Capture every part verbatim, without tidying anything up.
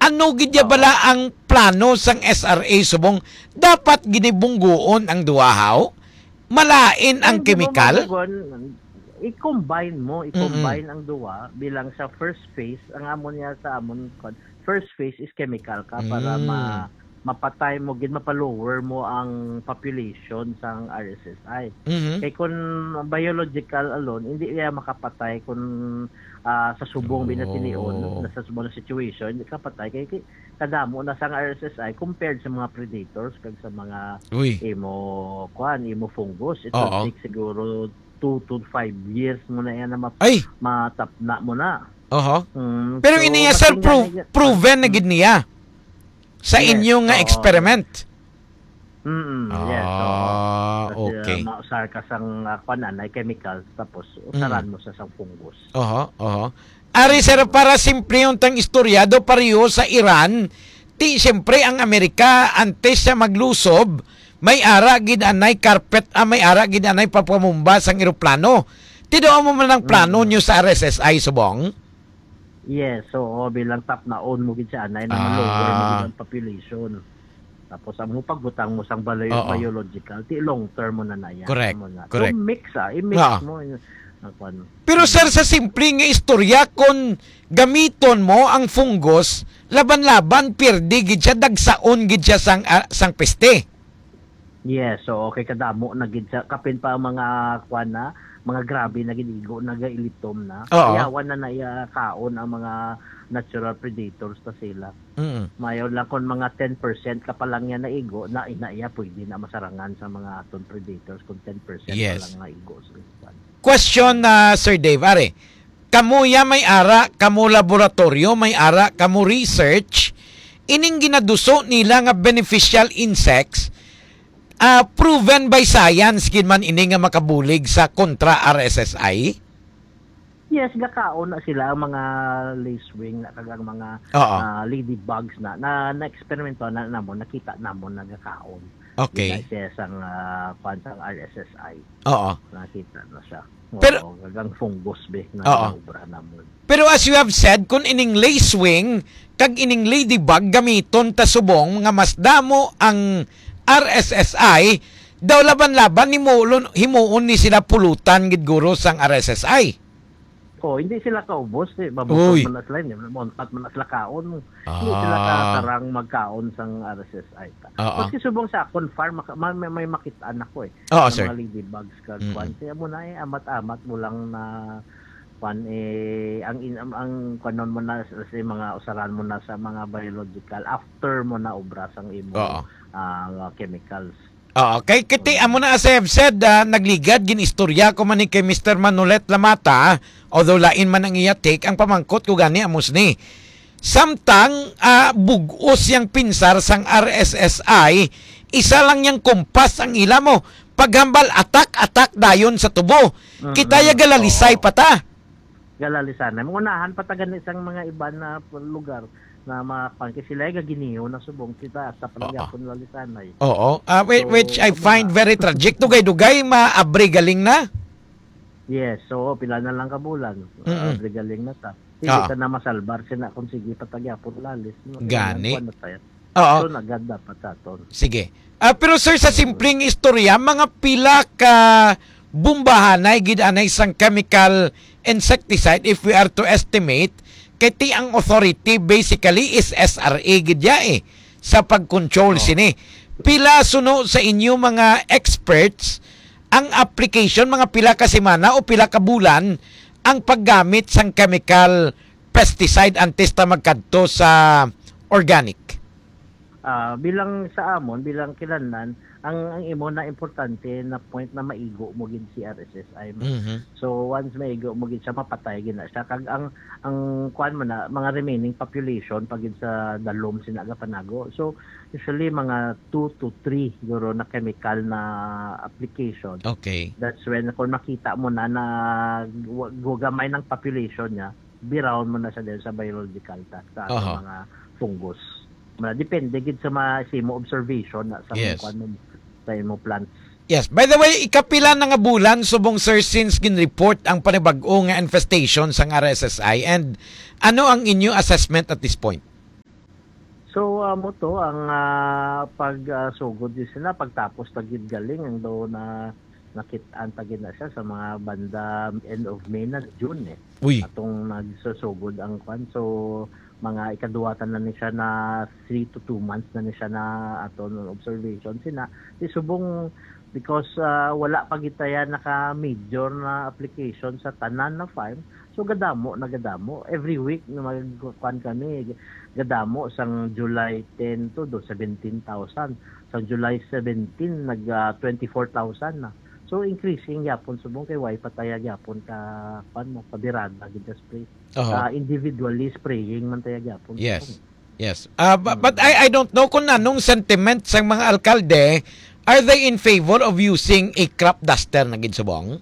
Ano gid ya Oo. bala ang plano sang S R A subong dapat ginibungguon ang duha, haw? Malain ang Ay, hindi mo kemikal? mabugon. I-combine mo, i-combine Mm-mm. ang duha bilang sa first phase. Ang amo niya sa amon, kwan, first phase is chemical ka para Mm. ma-, mapatay mo gid, mapalower mo ang population sang R S S I. Mhm. Kay kun biological alone, hindi niya makapatay kun, ah, sa subong binatinion, Oh. na sa subong na situation, hindi kapatay. Kay, kay kadamo na sang R S S I compared sa mga predators kag sa mga Uy. imo, kwan, imo fungus. It will Oo. take siguro two to five years mo na yan na ma-, Ay! matapna mo na. Oho. Mm, Pero so, ini nga, sir, matingnan pro-, na yan. proven na gid niya sa Yes, inyo nga oo. experiment. Mm, yes, oo. Ah, Kasi, okay. ah, mausar ka sang, ah, kwan, anay chemicals, tapos usaran Mm. mo sa sang fungus. Oho, oho. Ari, sir, para simplehon tang istorya, do pareho sa Iran, ti, siyempre, ang Amerika, antes siya maglusob, may ara gid anay carpet, ah, may ara gid anay papamumba sang eroplano. Ti do amo man ang plano Mm. nyo sa R S S I, subong? Yes, oo, bilang top na on mo gid siya, anay na Ah. ma-lower mo gid ang population. Tapos ang mo pagbutang mo sang balo-, Oo. biological, ti long term mo na na yan. Correct, Amo na. correct. So, mix, ah, i-mix Ah. mo, yun, ang kwan. Pero, sir, sa simple nga istorya, kung gamiton mo ang fungus, laban-laban, pirdi gid siya, dagsaon gid siya sang, ah, sang peste. Yes, so, okay, kadamo na gid sa, kapin pa ang mga, kwan na, mga grabe na gid igo, nagailitom na. Oo. Yawan na na iya kaon ang mga natural predators ta sila. Mm. Mayo lang kung mga ten percent ka pa lang yan naigo, na, na iya pwede na masarangan sa mga aton predators kung ten percent Yes. pa lang naigo sa ispan. Question, ah, Sir Dave, are, kamo ya may ara, kamo laboratorio, may ara, kamo research, ining ginaduso nila nga beneficial insects, ah, proven by science gid man ini nga makabulig sa kontra R S S I? Yes, gakaon na sila ang mga lacewing na kag ang mga, Oo. ah, ladybugs na, na, na-eksperimento na namon, nakita namon na gakaon. Okay. Yun na siya sang, ah, kwan sang R S S I. Oo. Nakita na siya. Pero Oo, kag ang fungus, be, na Oo. obra namon. Pero as you have said, kung ining lacewing kag ining ladybug gamiton ta subong nga mas damo ang R S S I, daw laban-laban himuon, himuon ni sila pulutan gid guro sang R S S I. Oh, hindi sila kaubos, eh. Mabusog Uy. man na sila, hindi man, montat man na sila kaon. Hindi sila Ah. ka-, karang magkaon sang R S S I ta. Oo. Maski subong sa akon farm, maka-, ma-, may, may makitaan ako, eh. Oo, Ang sir. mga ladybugs, kag Mm. kwan. Kaya mo na, eh, amat-amat mo lang na, kwan, eh, ang in-, ang, ang kwanon mo na sa, sa mga usaran mo na sa mga biological after mo na obra sang imo, Oo. ah, chemicals. Oo, kay, kay ti, amo na, as I have said, ah, nagligad, gin-istorya ko man ni kay Mister Manolet Lamata, although lain man ang iya take, ang pamangkot ko gani, amos ni. Samtang, ah, bug-os yang pinsar sang R S S I, isa lang yang kumpas ang ila mo. Paghambal, atak, atak dayon sa tubo. Kita ya Mm-mm. galalisay Oo. pa ta. Galalisanay. Mangunahan pa ta gani sang mga iban na lugar na mga kwan. Kay sila ay gaginiho na subong. Kita, sa Oo. pagyapon lalisanay. Oo. Ah, whi-, So, which I amo find na. very tragic. Dugay-dugay, maabri galing na. Yes. So, pila na lang ka bulan. Mm-mm. Ah, abri galing na ta. Hindi Ah. ta na masalbar sina kung sige pa ta gyapon lalis. No? Kaya Gani. ang kwan na tayo. Oo. So, nagad dapat sa aton. Sige. Ah, pero sir, sa Mm. simpleng istorya, mga pila ka bombahanay gid anay sang chemical insecticide, if we are to estimate, kay ti ang authority basically is S R A gid ya, eh, sa pag-control Oh. sini. Pila suno sa inyo mga experts ang application, mga pila ka semana o pila ka bulan ang paggamit sang chemical pesticide antes ta magkadto sa organic? Ah, bilang sa amon, bilang kilanlan, ang, ang imo na importante na point na maigo mo gid si R S S I mo. Mhm. So, once maigo mo gid siya, mapatay gid na siya. Kag ang, ang kuwan mo na, mga remaining population pa gid sa dalom sina gapanago. So, usually, mga two to three siguro na chemical na application. Okay. That's when, kung makita mo na, na wa-, gugamay ng population niya, birawon mo na siya dahil sa biological ta, sa ato Aha. mga fungus. Ma-, depende gid sa ma-, sa imo observation na sa Yes. kung ano, sa imo plants. Yes. By the way, ikapila na nga bulan subong, sir, since gin-report ang panibag-o nga infestation sang R S S I, and ano ang inyo assessment at this point? So, amo to ang, ah, pag, ah, sugod din sila, pagtapos ta gid galing, ang daw na nakit-an ta gid na siya sa mga banda end of May na June, eh. Uy. Atong nagsusugod ang kwan. So, mga ikaduwa ta na ni siya na three to two months na ni siya na aton observation. Sina, di subong, because, ah, wala pa gid taya naka-major na application sa tanan na farm. So, gadamo na gadamo. Every week na magkuan kami, gadamo sang July ten to do seventeen thousand. Sang July seventeen, nag, ah, twenty-four thousand na. So, increasing gyapon subong kay way pataya gyapon ka, kuan mo, kabirada gid sa spray. Aha. Ah, individually spraying man taya gyapon Yes. subong. Yes. Ah, bu-, but Mm. I, I don't know kung anong sentiment sang mga alkalde. Are they in favor of using a crop duster na gid subong?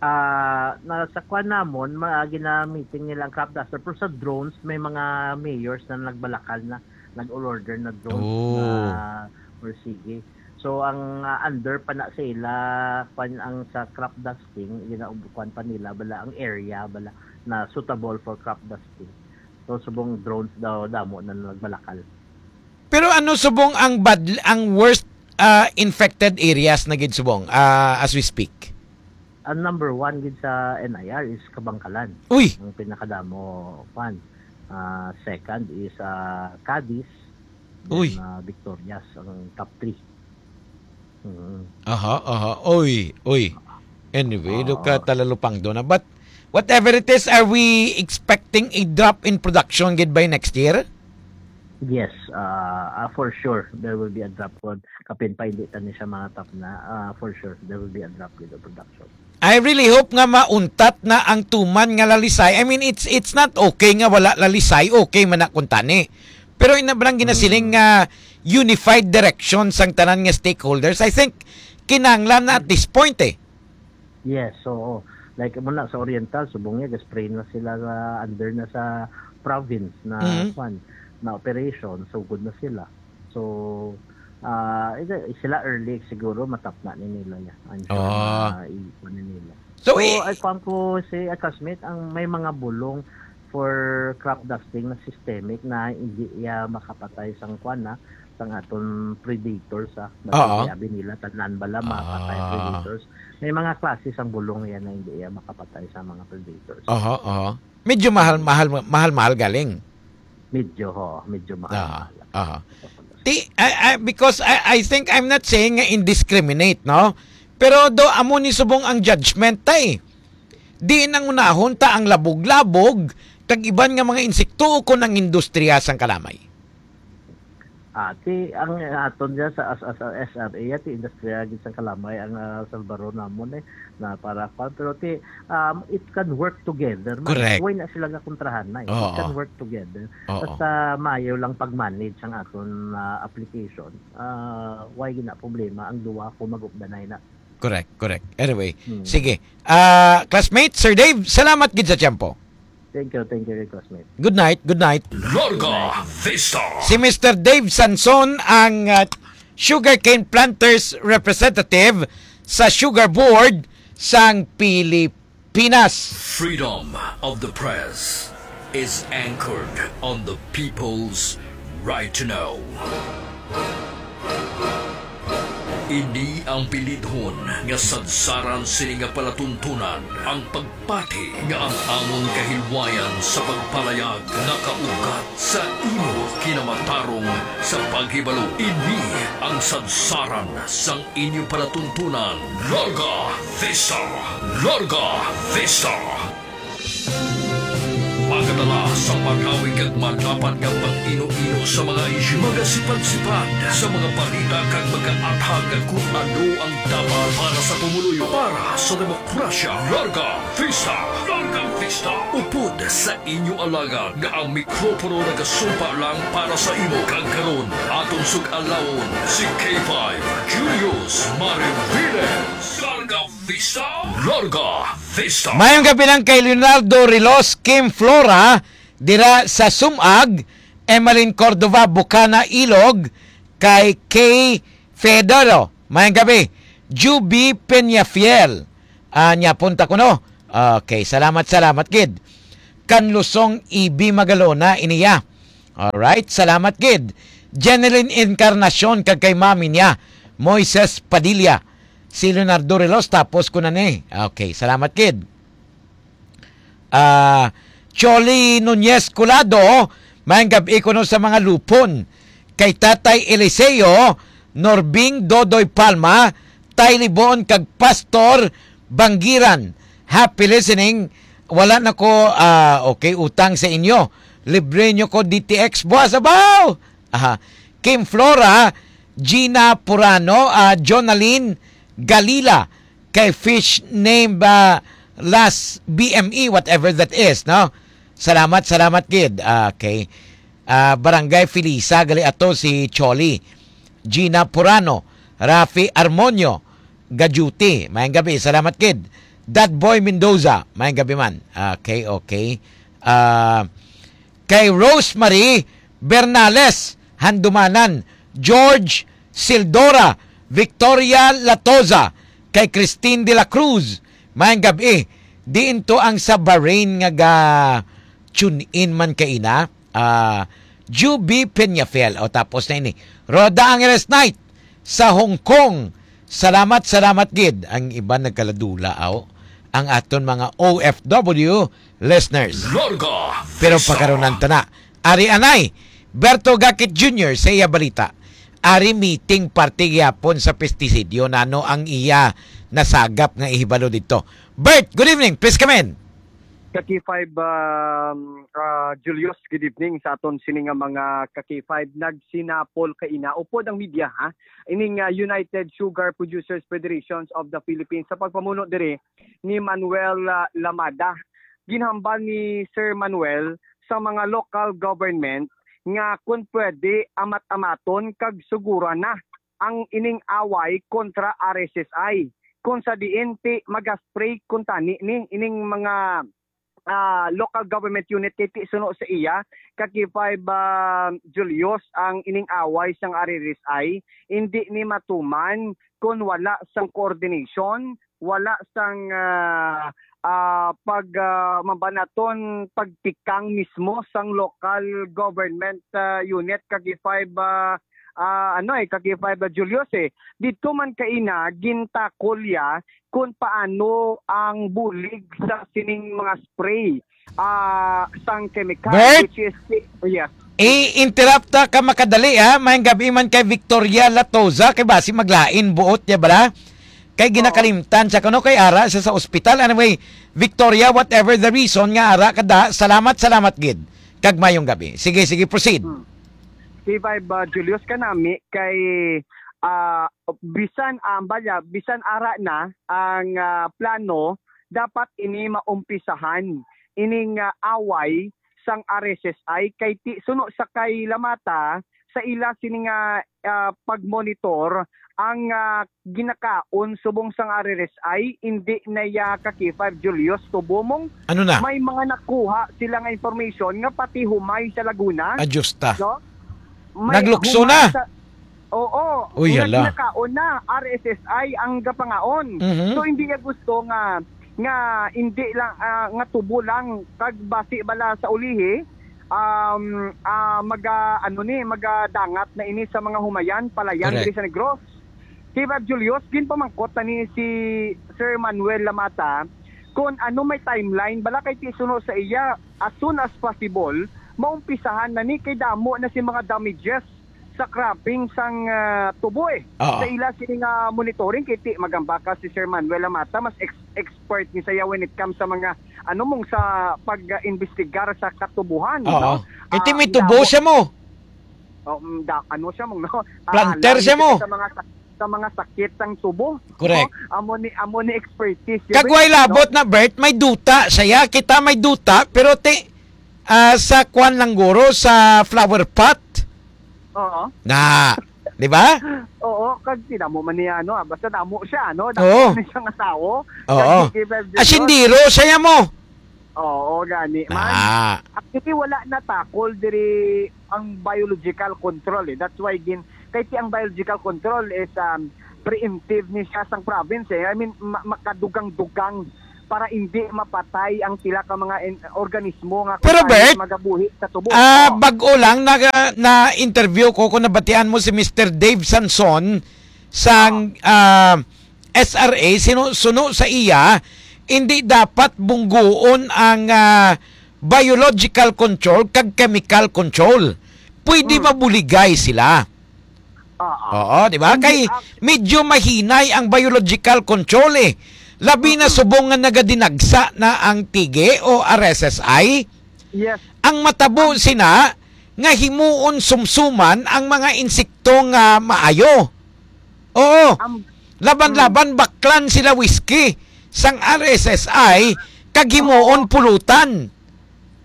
Ah, na, sa kwan namon, ma-, ginamiting nila ang crop duster, pero sa drones, may mga mayors na nagbalakal na, nag-order na drones Oh. na, or sige. So, ang, ah, under pa na sa ila, kwan ang sa crop dusting, gina-, kwan pa nila, bala ang area, bala na suitable for crop dusting. So, subong drones daw, damo na nagbalakal. Pero ano subong ang bad, ang worst, ah, infected areas na gid subong, ah, as we speak? Ang number one gid sa N I R is Kabangkalan. Uy! Ang pinakadamo, kwan. Ah, second is, ah, Cadiz. Then, Uy. ah, Victorias ang top three. Mm. Aha, aha. Uy, uy. Anyway, do ka Oo. talalupang do na. But whatever it is, are we expecting a drop in production gid by next year? Yes, ah, ah, for sure, there will be a drop. Kung kapin pa, hindi ta ni siya mangatap na, ah, for sure, there will be a drop with the production. I really hope nga mauntat na ang tuman nga lalisay. I mean, it's, it's not okay nga wala lalisay. Okay man na kung tani. Pero ina ba lang ginasiling Mm. nga unified direction sang tanan nga stakeholders? I think kinahanglan na at this point, eh. Yes, oo. Like, mo na sa Oriental, subong niya, ga-spray na sila sa, under na sa province na, Mm. kwan, na operation, so good na sila. So, ah, ito, sila early siguro, matap na ni nila ya. I'm sure Ah. na i-, kwan ni nila. So, So, i- ay, kwan ko si, ah, classmate, ang may mga bulong for crop dusting na systemic na hindi iya makapatay sang kwan na, sang aton predators, ah. Oo. Dati abi nila, tanan bala, makapatay Ah. predators. May mga klase sang bulong yan na hindi iya makapatay sa mga predators. Aha, aha. Medyo mahal, mahal, mahal, mahal galing. Medyo, ho, medyo mahal, Aha, mahal. aha. Ti, I, I, because I, I think I'm not saying nga indiscriminate, no? Pero do, amo ni subong ang judgment, tay. Di nangunahon ta ang labog-labog, kag iban nga mga insekto o kon ang industriya sang kalamay. Ah, ti, ang aton dyan sa, as, as, as S R A, ti industriya gid sang kalamay ang, ah, salbaron namon, eh, na para kwan. Pero ti, um, it can work together, man. Correct. Why na sila gakontrahan na, eh? It Oo. can work together. Oo. Basta maayo lang pag-manage ang aton, ah, application. Ah, why gina problema ang duha kung mag-updanay na? Correct, correct. Anyway, Hmm. sige. Ah, classmate, Sir Dave, salamat gid sa tiyempo. Thank you, thank you, classmate. Good night, good night. Larga Vista. Si Mister Dave Sanson ang, ah, sugarcane planters representative sa Sugar Board sang Pilipinas. Freedom of the press is anchored on the people's right to know. Ini ang pilidhon nga sadsaran sini nga palatuntunan, ang pagpati nga ang amon kahilwayan sa pagpalayag nakaugat sa imo kinamatarong sa paghibalo. Ini ang sadsaran sang inyo palatuntunan. Larga Vista! Larga Vista! Magadala sa magawig kag madapat nga pag-ino-ino sa mga isyu, magasipad-sipad sa mga balita kag magaathag kung ano ang dapat para sa pumuluyo, para sa demokrasya. Larga Vista! Larga Vista! Upod sa inyo alagad nga ang mikropono nagasumpa lang para sa imo. Kag karon, aton sug-alawon si K five Julius Mariviles. Larga Vista! Larga Vista! Mayong gabi lang kay Leonardo Rilos, Kim Flora, dira sa Sumag, Emeline Cordova, Bukana, Ilog, kay Kay Fedoro. Mayong gabi, Juby Peñafiel. Ah, niya punta ko, no? Okay, salamat, salamat, gid. Kanlusong Ibi Magalona, iniya. Alright, salamat gid. Jeneline Encarnacion kag kay mami niya, Moises Padilla. Si Leonardo Relos, tapos ko na ni. Okay, salamat gid. Ah, Choli Nunez Colado, maayong gab-i kuno sa mga lupon. Kay Tatay Eliseo, Norbing Dodoy Palma, Tay Libon kag Pastor Banggiran. Happy listening. Wala na ko, ah, okay, utang sa inyo. Libre nyo ko D T X buwas, abaw! Aha. Kim Flora, Gina Purano, ah, Jonalyn Galila, kay fish name ba last B M E, whatever that is, no? Salamat, salamat gid. Ah, okay. Ah, Barangay Felisa, gali ato si Choli. Gina Purano, Rafi Armonio, Gajuti. Maayong gabi, salamat gid. That Boy Mendoza, maayong gabi man. Okay, okay. Ah, kay Rosemary Bernales, Handumanan, George Sildora, Victoria Latoza, kay Christine de la Cruz, maayong gabi. Diin to ang sa Bahrain nga ga tune in man kaina? Ah, Juby Peñafiel. O, tapos na ini. Rhoda Angeles Knight sa Hong Kong. Salamat, salamat gid. Ang iban nagkaladula, aw. Ang aton mga O F W listeners. Larga Pero Vista. Pakarunan ta na. Ari anay, Berto Gakit Junior sa iya balita. Ari meeting parte gyapon sa pestisidyo. Nano ang iya nasagap nga ihibalo dito? Bert, good evening. Please come in. Ka K five, um, ah, Julius, good evening sa aton sini nga mga ka K five. Nagsinapol kaina, upod ang media, ha? Ining, ah, United Sugar Producers Federations of the Philippines sa pagpamuno diri ni Manuel, ah, Lamada. Ginhambal ni Sir Manuel sa mga local government nga kun pwede amat-amaton kag suguran na ang ining away kontra R S S I, kung sa diin ti magaspray kuntani ni ining mga, ah, local government unit kay ti suno sa iya, ka K five, ah, Julius, ang ining away sang R S S I, indi ni matuman kon wala sang coordination, wala sang, ah, ah, pag, ah, mabanaton pagtikang mismo sang local government, ah, unit, ka K five, ah, ah, ano eh, ka K five, ah, Julius eh. Dito man kaina, gintakol ya kung paano ang bulig sa sining mga spray, ah, sang chemical, Bert? Which is, yes. I-interrupt ta ka makadali, ha? Maayong gabi man kay Victoria Latoza, kay basi maglain buot niya bala. Kay Oo. ginakalimtan siya kuno kay ara siya sa ospital. Anyway, Victoria, whatever the reason nga ara ka da, salamat, salamat gid. Kag maayong gabi. Sige, sige, proceed. Hmm. K five, ah, Julius, kanami kay, ah, bisan, ah, balya, bisan ara na ang, ah, plano, dapat ini maumpisahan ining, ah, away sang R S S I kay ti suno sa kay Lamata sa ila sini nga, ah, pagmonitor ang, ah, ginakaon subong sang R S S I, indi na ya ka K five Julius Tubomong. Ano na? May mga nakuha sila nga information nga pati humay sa Laguna. Adyos ta. No? May Naglukso humay na. sa, oo, Uy, nga hala. ginakaon na, R S S I ang gapangaon. Mhm. So, hindi niya gusto nga, nga hindi lang, ah, nga tubo lang, kag basi bala sa ulihi, um, ah, maga, ano ni, magadangat na ini sa mga humayan, palayan Correct. diri sa Negros. K five Julius, ginpamangkot na ni si Sir Manuel Lamata kung ano may timeline, bala kay ti suno sa iya, as soon as possible, maumpisahan na ni kay damo na si mga damages sa cropping sang, ah, tubo eh. Oo. Sa ila sini nga monitoring, kay ti magambaka si Sir Manuel Lamata, mas ex-, expert ni saya when it comes sa mga, ano mong sa pag-imbestigar sa katubuhan, Oo. no? Kay ti Ah, may tubo damo siya mo. Oh, mm, da-, ano siya mong, no? Ah, Planter alam siya mo. kita sa mga sak-, sa mga sakit sang tubo. Correct. No? Amo ni, amo ni expertise. Kag way labot na, Bert, may duta siya. Kita may duta, pero ti, ah, sa kwan lang guro, sa flower pot. Oo. Na, di ba? Oo, kag tinamo man niya, ano, ah, basta damo siya, ano? Damo Oo. man siya nga tawo. Oo. Kag si K five Junior, Asindiro siya mo. Oo, gani man. Ah. Actually, wala na takol diri ang biological control, eh. That's why gin-, kay ti ang biological control is, um, preemptive ni siya sang province, eh. I mean, ma-, makadugang-dugang para hindi mapatay ang pila ka mga en-, organismo nga Pero, kuan Bert, magabuhi sa tubo. Ah, Oh. Bag-o lang na, na-interview ko kung nabatian mo si Mister Dave Sanson sang, ah, S R A, sinu-, suno sa iya, hindi dapat bungguon ang, ah, biological control kag chemical control. Pwede Mm. mabuligay sila. Oo. Oo, di ba? Hindi, Kay ah, medyo mahinay ang biological control eh. Labi na Mm-mm. subong nga nagadinagsa na ang tige o R S S I. Yes. Ang matabo sina nga himuon sumsuman ang mga insekto nga maayo. Oo. Am-, Laban-laban baklan sila whiskey sang R S S I kag himuon pulutan.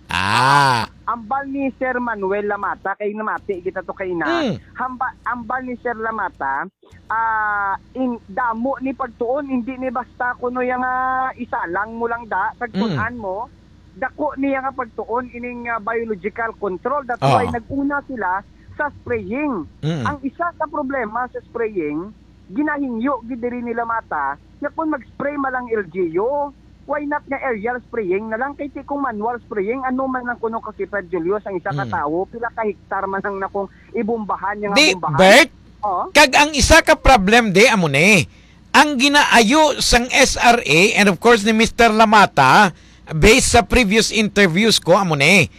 Ah. Ambal ni Sir Manuel Lamata, kay namati kita to kay ina. Mm. Hamba-, ambal ni Sir Lamata, ah, in, damo ni pagtuon, hindi ni basta kuno yang, ah, isa lang mo lang da, kag Mm. kun-an mo, dako niya nga pagtuon ining, ah, biological control. That's Oo. why nag-una sila sa spraying. Mm. Ang isa ka problema sa spraying, ginahingyo gid diri ni Lamata nga kung mag-spray man lang L G U, why not nga aerial spraying na lang? Kay ti kung manual spraying, ano man lang kuno ka Kipad Julius ang isa ka Mm. tawo, pila ka hektar man ang nakong ibumbahan niya nga Di, bombahan? Bert, Oo. Kag ang isa ka problem di amo ni, ang ginaayo sang S R A and of course ni Mister Lamata, based sa previous interviews ko, amo ni,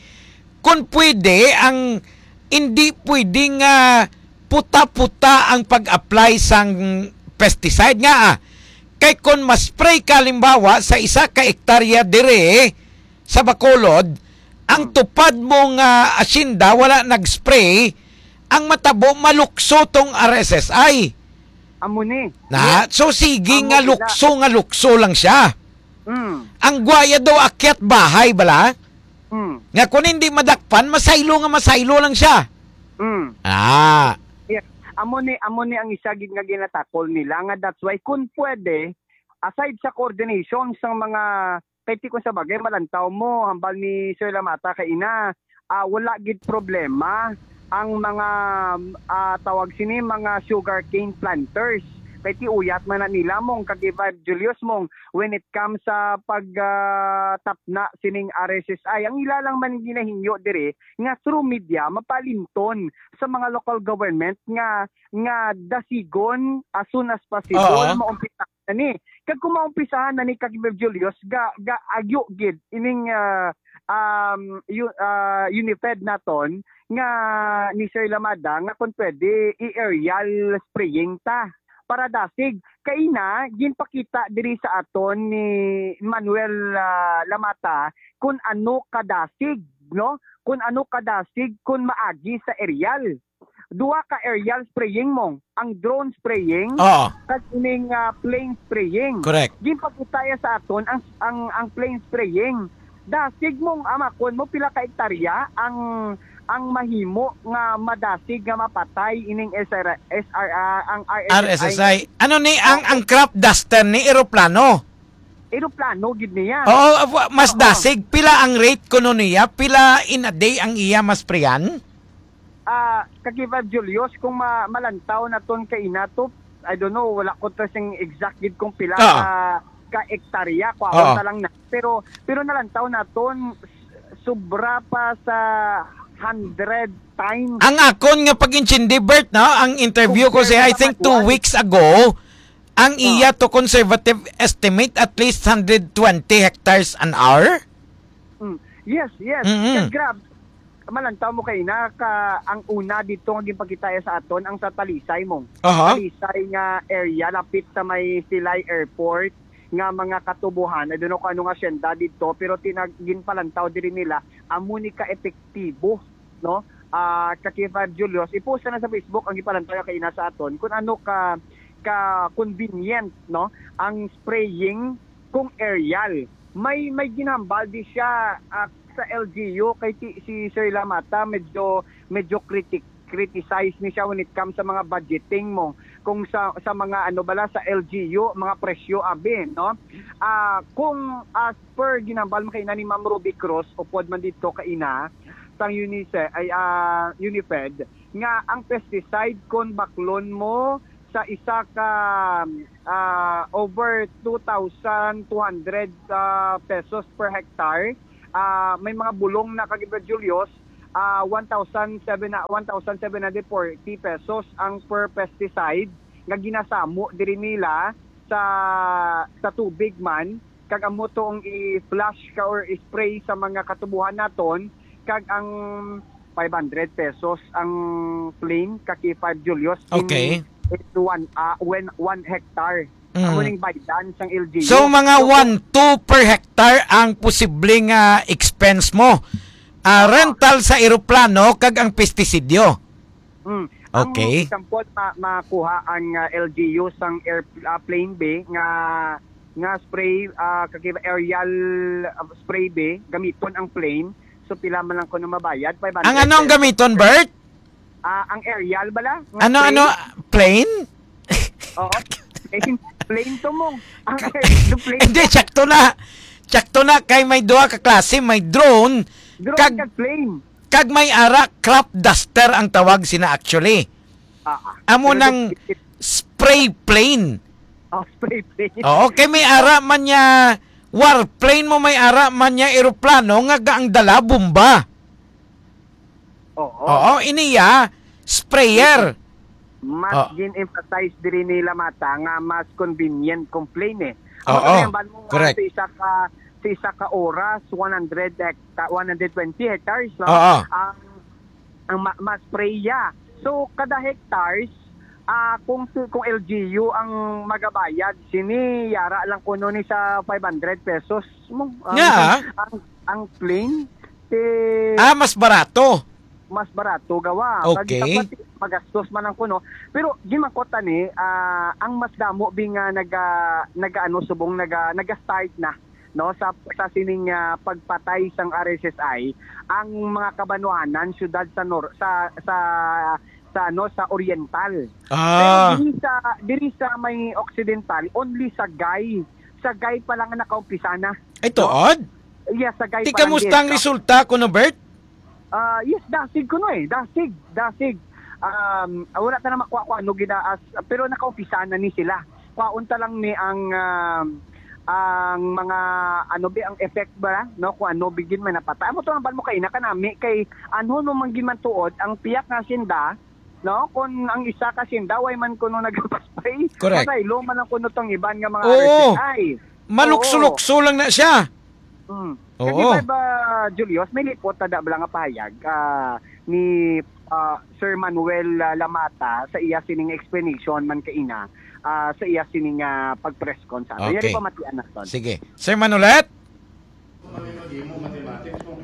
kung pwede, ang hindi pwede nga puta-puta ang pag-apply sang pesticide nga, ah, kay kon ma-spray ka, halimbawa, sa isa ka ektarya dire sa Bacolod, ang Hmm. tupad mo nga asyenda wala nag-spray, ang matabo malukso tong R S S I. Amo ni. Na, Yes. so sige Amo nga sila. lukso, nga lukso lang siya. Hmm. Ang guaya daw akyat bahay bala. Hmm. Nga kung hindi madakpan, masaylo nga masaylo lang siya. Hmm. Ah. Yes. Amo ni, amo ni ang isa gid nga ginatakol nila nga that's why kung pwede, aside sa coordination sang mga, kay ti kung sa bagay malantaw mo, hambal ni Sir Lamata kay ina, ah, wala gid problema ang mga, ah, tawag sini, mga sugarcane planters. Kay ti uyat man na nila mong kag Vibe Julius mong when it comes sa pag, ah, tapna sining R S S I. Ang ila lang man ginahingyo diri nga through media mapalimton sa mga local government nga, nga dasigon as soon as possible Oo. maumpisa na ni. Kag kung maumpisahan na ni Kag Julius, ga, ga agyo gid ining, ah, um, yu-, ah, Unifed naton nga ni Sir Lamada nga kung pwede i-aerial spraying ta para dasig. Kay na, ginpakita diri sa aton ni Manuel, ah, Lamata kung ano kadasig, no? Kung ano kadasig kung maagi sa aerial. Duha ka aerial spraying mong, ang drone spraying, Oo. kag ining, ah, plane spraying. Correct. Ginpakita ya sa aton ang, ang, ang plane spraying. Dasig mong amakon mo pila ka hektarya ang, ang mahimo nga madasig nga mapatay ining S R, S R, ah, ang R S S I. R S S I. Ano ni ang, Oo. ang crop duster ni eroplano? Eroplano gid niya. Oo, wa-, mas Oo. dasig. Pila ang rate kuno niya? Pila in a day ang iya masprayan? Ah, Kag Vibe Julius, kung ma-, malantaw naton kay ina to, I don't know, wala ko to sing exact gid kung pila Ah. ka, ka hektarya, kuhaon Ah. ta lang na. Pero, pero nalantaw naton, s-, sobra pa sa hundred times. Ang akon nga pag-intindi, Bert, no? Ang interview ko Compare siya, I sa think, two manual. weeks ago, ang Ah. iya to conservative estimate, at least hundred twenty hectares an hour. Mm. Yes, yes. Mm-mm. Kag grab, malantaw mo kay na ka, ang una dito nga ginpakita sa aton, ang sa Talisay mo. Aha. Talisay nga area, lapit sa may Silay Airport, nga mga katubuhan. I don't know kung anong asyenda dito, pero tinag-, ginpalantaw diri nila, amo ni ka-epektibo, no? Ah, ka K five Julius, i-post na sa Facebook ang gipalantaw kay na sa aton kung ano ka, ka convenient, no? Ang spraying kung aerial. May, may ginhambal di siya, ah, sa L G U kay ti-, si Sir Lamata medyo, medyo critic, criticize ni siya when it comes sa mga budgeting mo kung sa, sa mga ano bala sa L G U, mga presyo abi, no? Ah, kung as per ginhambal mo kaina ni Ma'am Ruby Cruz, upod man dito kaina sang Unice-, ay, ah, Unifed, nga ang pesticide kung baklon mo sa isa ka, ah, over two thousand two hundred, ah, pesos per hectare. Ah, may mga bulong na, Ka-Gibran Julius, ah, one thousand seven, one thousand seven hundred forty pesos ang per pesticide nga ginasamo diri nila sa, sa tubig man, kag amo to ang i-flush ka or i-spray sa mga katubuhan naton, kag ang five hundred pesos ang plain, Ka-K five Julius, in, Okay. in one, ah, when one hectare. Mm. Amo ning baydan sang L G U. So, mga So, one two per hectare ang posibleng, ah, expense mo. Ah, Ah. rental sa eroplano kag ang pestisidyo. Mm. Okay. Ang example, ma-, makuha ang, ah, L G U sang air-, ah, plane B nga, nga spray, ah, kag aerial, ah, spray B, gamiton ang plane. So, pila man lang kuno mabayad? Five hundred Ang ano ang pesos. gamiton, Bert? Ah, ang aerial bala? Nga Ano, spray? ano? Plane? Oo. Plane, plane to mo. Ang air-, the plane. Hindi, sakto na. Sakto na kay may duha ka klase, may drone, Drone kag, kag plane. kag may ara, crop duster ang tawag sina actually. Ah, ah. Amo Pero nang it, it spray plane. Oh, spray plane. Oo, kay may ara man niya, warplane mo, may ara man niya eroplano nga gaang dala bomba. Oo. Oo, iniya, sprayer. Mas Oh. gin-emphasize diri ni Lamata nga mas convenient kung plane eh. Ang Oo, kaya ban mo nga correct. sa isa ka, sa isa ka oras, one hundred hecta-, one hundred twenty hectares, no? Oo. Ang, ang ma-, mas spray ya. So, kada hectares, ah, kung si, kung L G U ang magabayad, sini yara lang kuno ni sa five hundred pesos mo. Ang, Nga, ah. ang, ang plane, si Ah, mas barato. mas barato gawa. Kag Okay. dapat magastos man ang kuno. Pero ginmangkot ani, ah, ang mas damo bi nga naga, nagaano subong naga, naga-start na, no, sa, sa sining, ah, pagpatay sang R S S I ang mga kabanwahanan, syudad sa nor-, sa, sa, sa, ano, sa oriental. Ah. Pero diri sa, diri sa may occidental, only Sagay. Sagay pa lang ang nakaumpisa na. Ay, No? tuod? Yes, Sagay Ti, pa lang kamusta ang din. resulta, kuno, Bert? Ah, yes, dasig kuno eh. Dasig, dasig. Um, ah, wala ta na makuha kung ano ginaas, pero nakaumpisa na ni sila. Kuhaon ta lang ni ang, um, ang mga, ano bi, ang effect ba, no? Kung ano bigin man napatay. Amo to ang ban mo kay ina kanami kay anhon mo man gid man tuod ang piyak nga sinda, no? Kung ang isa ka sinda, way man kuno nagpaspray, Correct. Patay, lo man ang kuno tong iban nga mga Oo. R S S I. Malukso-lukso lang na siya. Hmm. Oo. Kasi ba, ba, Julius, may lipot na da bala nga pahayag, ah, ni, ah, Sir Manuel, ah, Lamata sa iya sining explanation man kaina, ah, sa iya sining, ah, pag-press con sa aton. Okay. Yari pamatian naton. Sige. Sir Manolet? Kami mag-imo mathematics mo.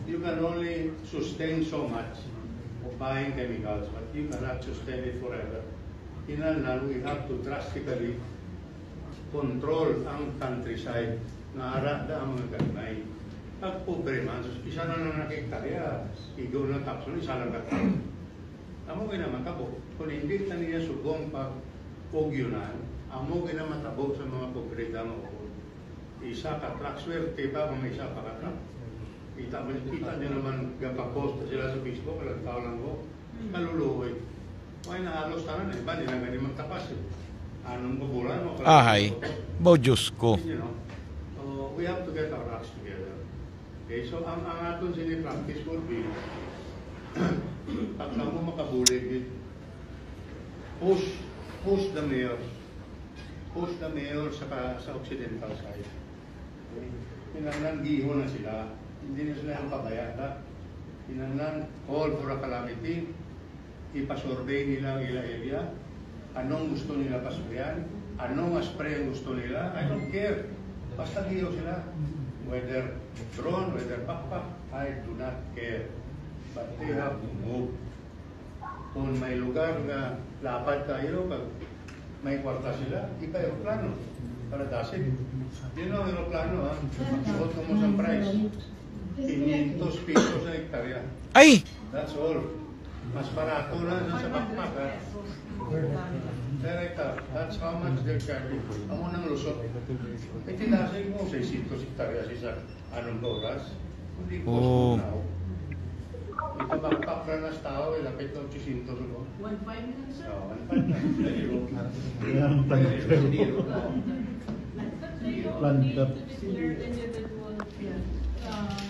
You can only sustain so much of buying chemicals, but you cannot sustain it forever. Kinahanglan, we have to drastically control ang countryside nga ara da ang mga gagmay. Pag pobre man, sus, isa na lang nakita, kaya igo na tapos, isa lang ka tao. Amo gid na matabo. Kung hindi na niya subong pag-ugyunan, amo gid na matabo sa mga pobre nga maupod. Isa ka truck, swerte pa kung may isa pa ka truck. Kita mo, kita niyo naman, gapapost na sila sa Facebook, ilang tao lang ko. Kaluluoy. Kaya na halos tanan, iba nila gani magtapas eh. Anong kabulan mo? Ahay. Bo, Diyos ko. You know? So, we have to get our acts together. Okay, so ang, ang aton sini practice would be, pag kamo makabulig, push, push the mayor. Push the mayor sa, ka- sa occidental side. Okay? Kinahanglan gihon na sila. Hindi na sila ang pabaya, ha? Kinahanglan call for a calamity. Ipasurvey nila ang ila area. Anong gusto nila pasprayan? Anong spray ang gusto nila? I don't care. Basta giyaw sila. Whether drone, whether backpack, I do not care. But they have to move. Kung may lugar nga lapad kayo, pag may kwarta sila, ipa-aeroplano para dasig. Yun ang aeroplano, ha? Magsuot mo sa price. Quinientos pesos sa hektarya. Ay! That's all. Mas barato na sa, sa backpack, ha? Director, that's how much they're charging. Amo nang lusot. Eh, tinasig mo, seiscientos hektarya sa isa. Anong oras? Hindi po Oh. now. Kapag pakra na sa tao, eh, lapit na otsisyentos ko. One five na, sir. Oh, one five na. Zero. Yan ang Zero, zero. But they don't Planta. Need to declare individual, uh,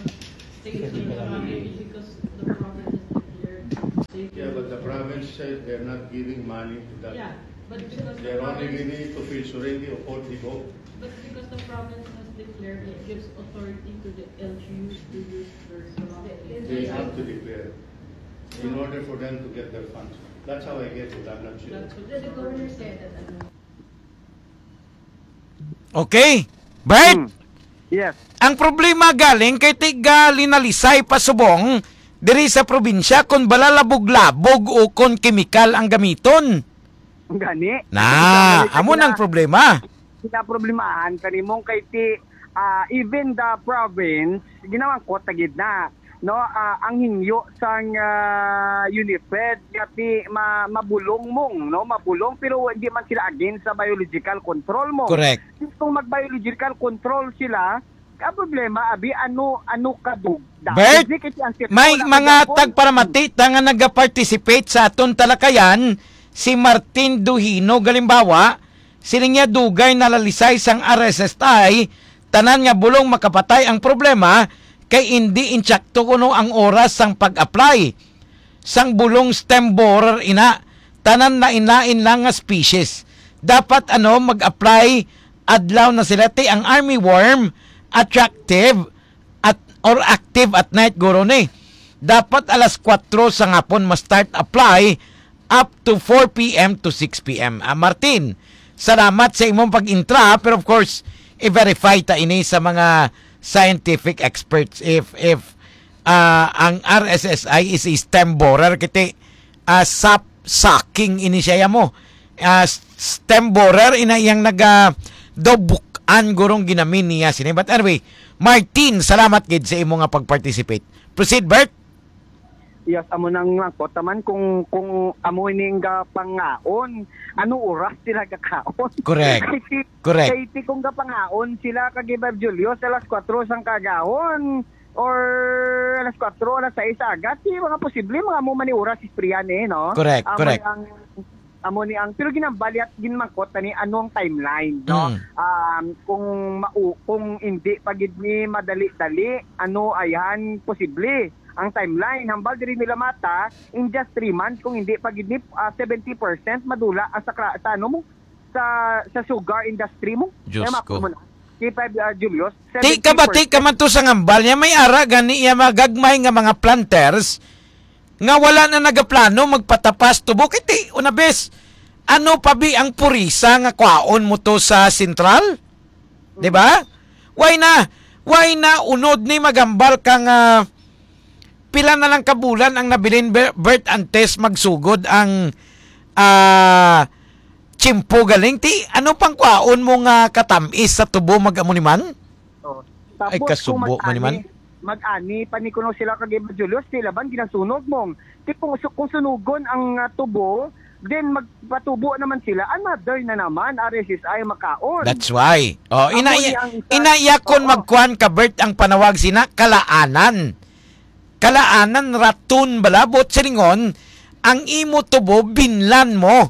state of the province because the province is declared state. Yeah, but the province said they're not giving money to that. Yeah, but because the They're only province giving it to Phil Surengui or Paul Digo. But because the province has declared, it gives authority to the L G Us to use their province. They have to declare in order for them to get their funds. That's how I get it. I'm not sure. That's what the governor said that, ano. Okay. Bert, Hmm. Yes. Ang problema galing kay tiga linalisay pa subong diri sa probinsya kon bala labog-labog o kon kemikal ang gamiton. Gani. Na, Sa amo nang gina-, problema. Ginaproblemahan kanimong kay ti, ah, even the province, ginamangkot na gid na, no? Ah, ang hingyo sang, ah, UNIFED nga ti ma-, mabulong mong, no? Mabulong, pero hindi man sila against sa biological control mo. Correct. Kung mag-biological control sila, ang problema, abi, ano, ano kadugda? Bert, Hindi kasi ang may sitwasyon mga gihapon. Tagparamati ta nga nagaparticipate sa aton talakayan, si Martin Duhino, galimbawa, siling niya dugay nalalisay sang R S S I, tanan nga bulong makapatay ang problema, kay indi insakto kuno ang oras sang pag-apply sang bulong stem borer ina, tanan lain-lain lang nga species. Dapat, ano, mag-apply adlaw na sila, ti ang armyworm, attractive at, or active at night, guro ni. Dapat alas kuwatro sa hapon ma-start apply up to four p m to six p m. Ah, Martin, salamat sa imong pag-intra, pero of course, i-verify ta ini sa mga scientific experts if, if, ah, ang R S S I is a stem borer, kiti, ah, sap sucking ini siya mo. Ah, s-, stem borer ina iyang naga daw buk-an gurong ginamin niya sini. But anyway, Martin, salamat gid sa imo nga pag-participate. Proceed, Bert. Yes, amo nang mangkot naman kung, kung amo ining, ah, pangaon, ano oras sila gakaon? Correct. Kay ti, Correct. Kay ti kung gapangaon sila kag Iba Julius alas kuwatro sang kagahon or alas kuwatro, alas sais sa aga, ti mga posible mga amo man ni oras ispriyan eh, no? Correct, Amo correct. ni ang, amo ni ang, pero ginambalyat, ginmangkot na ni ano ang timeline, no? Mm. Um, kung mau-, kung hindi pa gid ni madali-dali, ano ayan posible ang timeline? Hambal diri nila mata, in just three months, kung hindi pa gid ni, ah, seventy percent madula ang sa kra-, sa ano mo, sa, sa sugar industry mo. Diyos Kaya ko. mako mo na. Kay five, ah, Julius, Ti ka ba, ti ka seventy percent. man to sa ngambal niya, may ara gani iya magagmay nga mga planters nga wala na nagaplano magpatapas tubo. Kay ti, una bes, ano pa bi ang purisa nga kwaon mo to sa sentral? Di ba? Why na? Why na unod ni magambal ka nga pila na lang ka bulan ang nabilin, Ber-, Bert, antes magsugod ang, ah, tiyempo galing? Ti, ano pang kwaon mo nga katamis sa tubo mag-amo ni man? Oh. Ay, Tapos kung kasubo man ni man. mag-ani, mag-ani pa ni kuno sila kag Iba Julius, sila ban ginasunog mong. Ti kung su-, kung sunugon ang, ah, tubo, then magpatubo naman sila, another na naman, R S S I makaon. That's why. Oh, Amo ina ni iya, ang isa. ina iya kon Oo. magkuan ka, Bert, ang panawag sina kalaanan. Kalaanan, raton, balabot, silingon, ang imo tubo, binlan mo.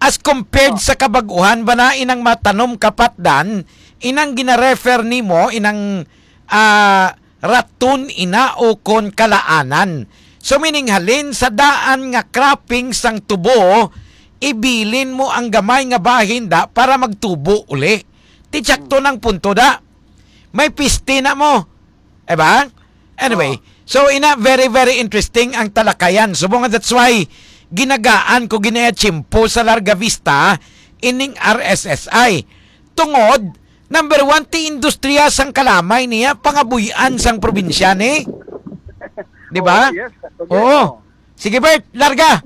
As compared Oh. sa kabag-uhan ba na inang matanom kapatdan, inang gina-refer nimo, inang, ah, raton ina o kon kalaanan. So, meaning, halin sa daan nga cropping sang tubo, ibilin mo ang gamay nga bahin da para magtubo uli. Ti tsakto nang punto da. May piste na mo. Diba? Anyway, Oo. so ina, very, very interesting ang talakayan. Subong nga that's why ginagaan ko ginaya tiyempo sa Larga Vista ining R S S I. Tungod, number one, ti industriya sang kalamay niya, pangabuy-an sang probinsya ni. Di ba? Oo, yes, yes. Oo. Sige, Bert, larga.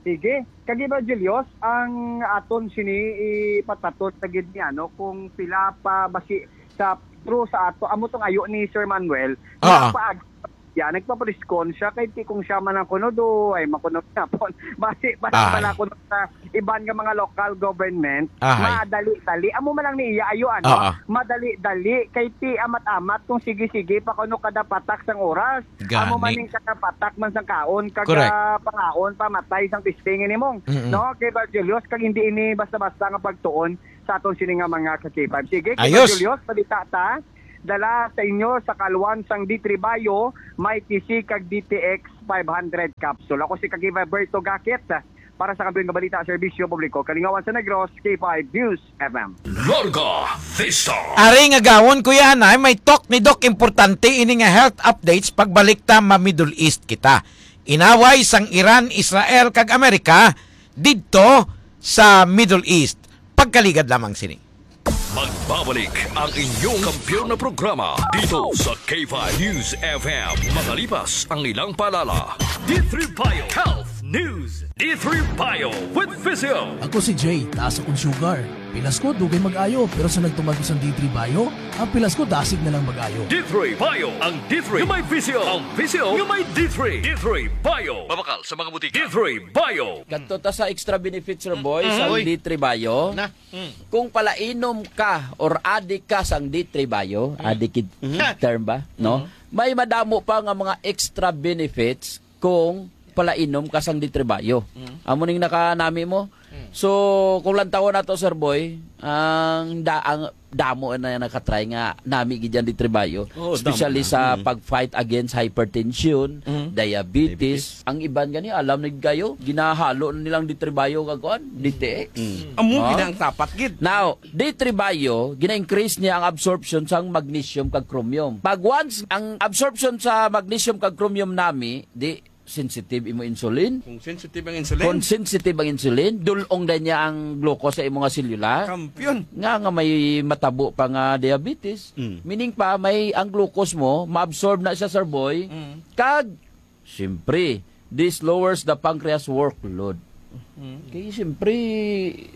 Sige. Kag Iba Julius, ang aton sini ipataton na gid ni, ano, kung pila pa basi sa true sa ato, amo tong ayo ni Sir Manuel, Ah. pila pa ag-, Yan, nagpapriskon siya kay ti kung siya man ang kuno, do ay makunot na po. Basi, basi Ahay. Pala kuno sa iban nga mga local government, Ahay. Madali-dali. Amo man lang ni iya ayo, ano? Oo. Madali-dali kay ti amat-amat kung sige-sige pa kuno kada patak sang oras. Amo man Gani. Ning kada patak man sang kaon, kada Correct. Pangaon, pamatay sang testing ini mong, Mm-mm. No? Kay Bar Julius, kag hindi ini basta-basta nga pagtuon sa aton sini nga mga ka-K five. Sige, kay Ayos. Bar Julius, balita ta. Dala sa inyo sa kalwan sang D three Bio, may T C kag D T X five hundred capsule. Ako si Kagiba Berto Gakit para sa Kampiyon nga Balita, Serbisyo Publiko, Kalingawan sa Negros, K five News F M. Larga Vista. Ari nga gawon, Kuya Anay, may talk ni Doc importante ini nga health updates pagbalik ta ma-Middle East kita. Inaway sang Iran, Israel, kag Amerika didto sa Middle East. Pagkaligad lamang sini. Magbabalik ang inyong kampiyon na programa dito sa K five News F M. Makalipas ang ilang paalala. D three Bio Health News. D three Bio with Physio. Ako si Jay, taas akong sugar. Pilas ko, dugay mag-ayo, pero sa nagtumag ko sang D three Bio, ang pilas ko dasig na lang mag-ayo. D three Bio, ang D three nga may Physio, ang Physio nga may D three. D three Bio. Mabakal sa mga butika. D three Bio. Kadto ta sa extra benefits, sir boy, Mm-mm. sa Uy. D three Bio. Na. Mm. Kung palainom ka or adik ka sang D three Bio, Mm. adik it Mhm. term ba, no? Mhm. May madamo pa nga mga extra benefits kung palainom ka sang D three Bio. Mm. Amo ning nakanami mo. Mm. So, kung lantawon nato, sir boy, ang da-, ang damo na nakatry nga nami gid yan D three Bio, Oo, especially damo na. sa Mm. pag-fight against hypertension, Mm. diabetes. Diabetes. Ang iban gani, alam na gid kayo, ginahalo na nilang D three Bio kag kuan, D T X. Mm. Amo No? gid ang tapat gid. Now, D three Bio, gina-increase niya ang absorption sang magnesium kag chromium. Pag once ang absorption sa magnesium kag chromium nami, di sensitive imo insulin. Kung sensitive ang insulin. Kung sensitive ang insulin, dulong na niya ang glucose sa imo nga selula. Kampiyon. Nga, nga may matabo pa nga diabetes. Mm. Meaning pa, may ang glucose mo, maabsorb na siya, sir boy. Mm. Kag, siyempre, this lowers the pancreas workload. Mm. Kay, siyempre,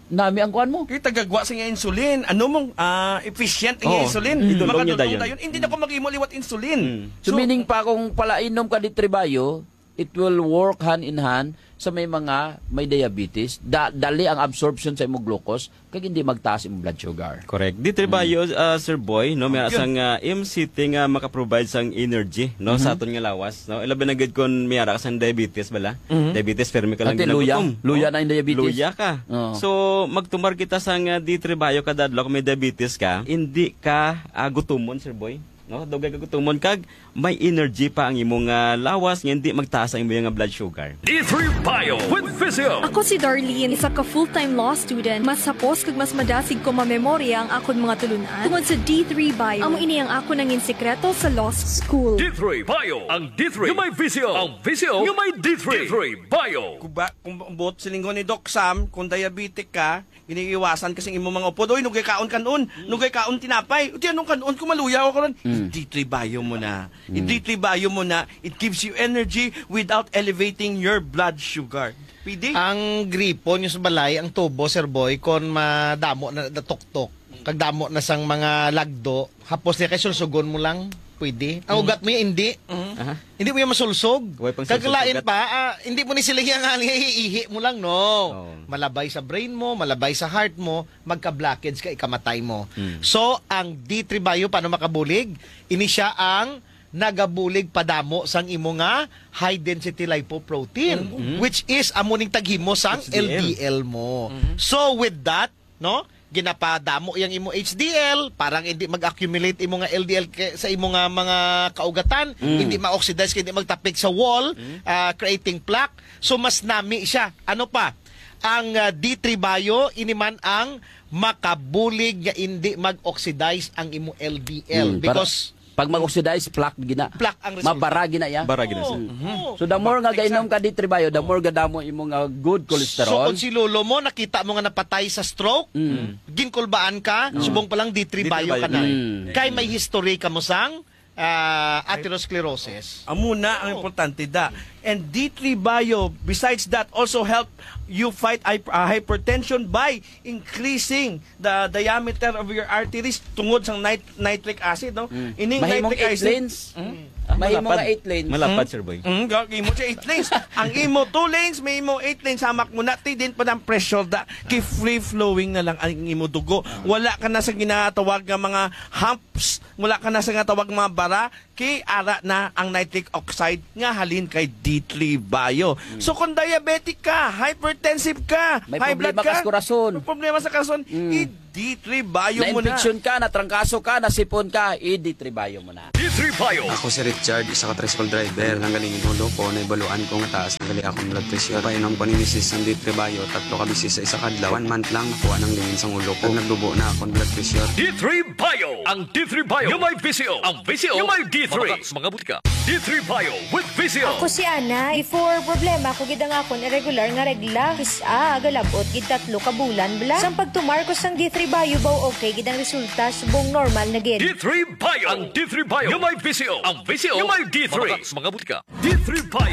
nami ang kuan mo. Kay tagagwa sa nga insulin. Ano mong, ah, efficient nga Oo. insulin? Mm. Idulong niya Makadulong dayon. dayon. Hindi na ko mag-imo liwat insulin. Mm. So, So, meaning pa, kung palainom ka D three Bio, it will work hand in hand sa may mga may diabetes. Da-, dali ang absorption sa imong glucose, kag hindi magtaas imong blood sugar. Correct. D three Mm. Bio, ah, Sir Boy, no, may Yun. sang, ah, M C T nga maka-provide sang energy, no, sa Mhm. aton nga lawas, no. Ilabi na gid kon may ara ka sang diabetes bala. Mhm. Diabetes, permi ka lang Ate, luya. ginagutom, Luya no? na yung diabetes. Luya ka. Oo. So, magtumar kita sang, ah, D three Bio kada adlaw kung may diabetes ka, hindi ka, ah, gutumon, Sir Boy. No, dugay ka gutumon kag may energy pa ang imong, ah, lawas nga hindi magtaas ang imong, ah, blood sugar. D three Bio with Physio. Ako si Darlene, isa ka full-time law student. Mas hapos kag mas madasig ko mamemorya ang akon mga tulun-an tungod sa D three Bio. Amo ini ang akon nangin sikreto sa law school. D three Bio, ang D three nga may Physio, ang Physio nga may D three. D three Bio. Kuba, kung buot silingon ni Doc Sam, kung diabetic ka, iniiwasan kasi imo mga upod, "Oy, nugay kaon kanon, Mm. nugay kaon tinapay." Uti, anong kanon? Kung maluya ako karon, Mm. I-D three Bio mo na. Mm. I-D three Bio mo na. It gives you energy without elevating your blood sugar. Pwede? Ang gripo nyo sa balay, ang tubo, Sir Boy, kon madamo na natuktok, kag damo na sang mga lagdo, hapos niya kay sulsugon mo lang, pwede. Ang Mm. ugat mo yan, hindi. Mm. Aha. Hindi mo yan masulsog. Way pang Kag sulsog lain ugat. pa, ah, hindi mo ni sila yan nga ihi mo lang, no? Oo. Malabay sa brain mo, malabay sa heart mo, magka-blockage ka, ikamatay mo. Mm. So, ang D three Bio, paano makabulig? Ini siya ang nagabulig padamo sang imo nga high density lipoprotein, Mm. which is amo ning taghimo sang H D L. L D L mo. Mm. So, with that, no? Ginapadamo yang imo H D L, parang hindi mag-accumulate imo nga L D L ke-, sa imo nga mga kaugatan, Mm. hindi ma-oxidize, hindi magtapik sa wall, Mm. ah, creating plaque. So, mas nami siya. Ano pa? Ang, ah, D three Bio, ini man ang makabulig nga hindi mag-oxidize ang imo L D L. Mm, para Because pag mag-oxidize, plaque gina. Plaque ang resulta. Mabara gina ya. Bara gina siya. Oo, Mhm. oo. So, the more nga Bakit gainom sa ka D three Bio, the Oo. more gadamo imo nga good So, cholesterol. kung si lolo mo, nakita mo nga napatay sa stroke, Mm. ginkulbaan ka, Mm. subong pa lang D three D three Bio ka Bio. na. Mm. Kay may history ka mo sang, ah, atherosclerosis. Amo na ang Oo. importante da. And D three Bio, besides that, also help you fight hy-, ah, hypertension by increasing the diameter of your arteries tungod sa nit-, nitric acid, no? Mm. Ining Mahimong nitric eight acid, lanes. Mm. Ah, Mahimo Malapad. nga eight lanes. Malapad, Hmm? Sir Boy. Mm, ga- imo siya eight lanes. Ang imo two lanes, may imo eight lanes, hamak mo na, ti din pa ng pressure da. Ki free flowing na lang ang imo dugo. Wala ka na sa ginatawag nga mga humps, wala ka na sa ginatawag nga mga bara, ki ara na ang nitric oxide nga halin kay D three Bio. So kung diabetic ka, hypertensive ka, May high blood problema ka ka, sa kurason. may problema sa kurason, i-D three Bio mo na. Na-infection ka, natrangkaso ka, nasipon ka, i-D three Bio mo na. D three Bio. Ako si Richard, isa ka tricycle driver. Nanggaling ang ulo ko, naibaluan ko nga taas na gali akong blood pressure. Painom ko ni misis sang D three Bio, tatlo ka bisis sa isa ka adlaw. One month lang, nakuha nang lingin sang ulo ko. Nagdubo na akong blood pressure. D three Bio. Ang D three Bio nga may V C O. Ang V C O nga may D three. Mabakak sa mga butika. D three Bio with V C O. Ako si Ana. Before, problema ko gid ang akon irregular nga regla. Kis-a, galabot gid tatlo ka bulan bala. Sang pagtumar ko sang D three Bio, baw okay gid ang resulta, subong normal na gid. D three Bio. Ang D three Bio nga may V C O. Ang V C O nga may D three. Mabakak sa mga butika. D three Bio.